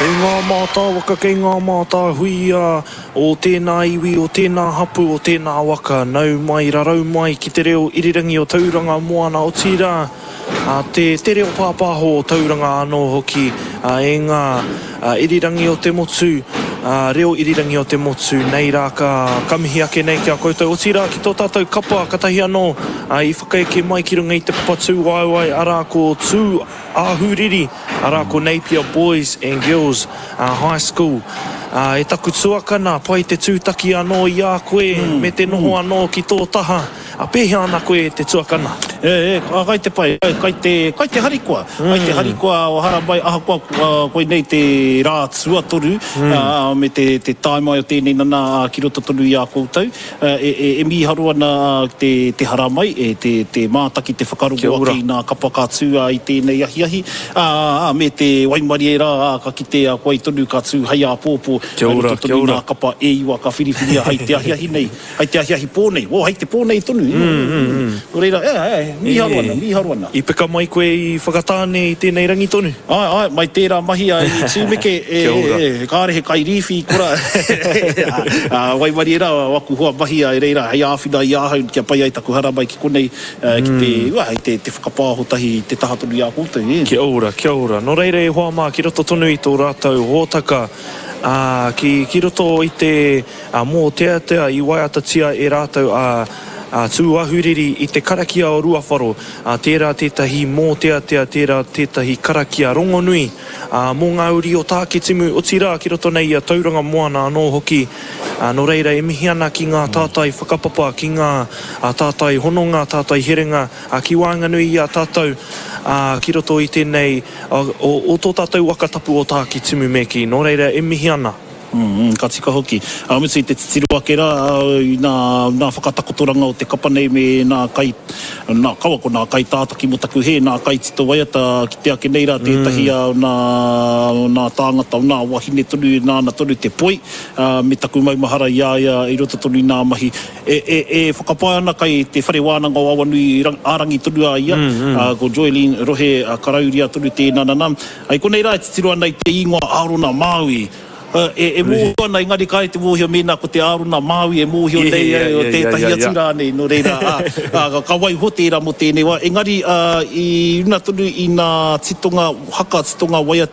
Kei ngā mātāwaka, kei ngā mātāhuia o tēnā iwi, o tēnā hapū, o tēnā waka, nau mai, rarau mai ki te reo irirangi o Tauranga Moana, otirā, te, te reo pāpāho o Tauranga anō hoki, e ngā irirangi o te motu, reo irirangi o te motu, nei rā ka, ka mihi ake nei ki a koutou, otirā ki tō tātou kapa, katahi anō i whakaeke mai ki runga i te papa tūwaewae, arā ko Tū Ahuriri, arā ko Napier Boys and Girls High School. E taku tuakana, pai te tūtaki anō i a koe me te noho anō ki tō taha. Pēhea ana koe e te tuakana? E, kai te pai, kai te, kai te harikoa, kai te harikoa o haramai ahakoa koinei te rā tuatoru me te, te tae mai o tēnei nana ki roto tonu i a koutou. E mīharo ana te te haramai, e te te mātaki, te whakarongo ake i nā kapa ka tū i tēnei ahiahi, ā, me te waimarie rā, ā, ka kite a koe tonu ka tū hei āpōpō, hei roto tonu i nā kapa e iwa ka whiriwhiria hei te ahiahi nei, hei te ahiahi pō nei, oh, hei te pō nei tonu, nō reira, ē, ē, mīharo ana, mīharo ana. I peka mai koe i Whakatāne i tēnei rangi tonu? Āe, āe, mai tērā mahi a i Tūmeke, e, e, e, kāre he kairīwhi i kora, ā, waimarie rā aku hoa mahi a i reira hei āwhina i ahau kia pai ai taku haramai ki konei, ki te, ua, hei te, te whakapāho tahi i te taha tonu i a koutou, e. Kia ora, kia ora. Nō reira e hoa mā, ki roto tonu i tō rātou hōtaka, ā, ki, ki roto i te, ā, mōteatea i waiatatia e rātou a, a Tūahuriri i te karakia o Ruawharo, ā, tērā tētahi mōteatea, tērā tētahi karakia rongonui, ā, mō ngā uri o Tākitimu, otirā ki roto nei i a Tauranga Moana anō hoki. Ā, nō reira e mihi ana ki ngā tātai whakapapa, ki ngā, ā, tātai hononga, tātai herenga, ā, ki waenganui i a tātou, ā, ki roto i tēnei, ā, o, o tō tātou waka tapu o Tākitimu me kī. Nō reira e mihi ana. Ka tika hoki. Ka mutu i te titiro ake rā i nā, nā whakatakotoranga o te kapa nei me nā kai, nā, kaua ko nā kaitātaki mō taku hē, nā kaitito waiata kite ake nei rā tētahi o nā, o nā tāngata, o nā wahine tonu nāna tonu te poi, me taku maumahara i a ia i roto tonu i nā mahi. E, e, e whakapae ana kai te Whare Wānanga o Awanui ā-rangi tonu a ia, ko Joylene Rohe Karauria tonu tēnā nana. I konei rā e titiro ana i te īngoa Ārona Māui. E mōhio ana, engari kāre te mōhio mēnā ko te Ārona Māui e mōhio nei o tētahi atu rānei, nō reira, ka waiho tērā mō tēnei wā. Engari, i runa tonu i nā titonga haka, titonga waiata.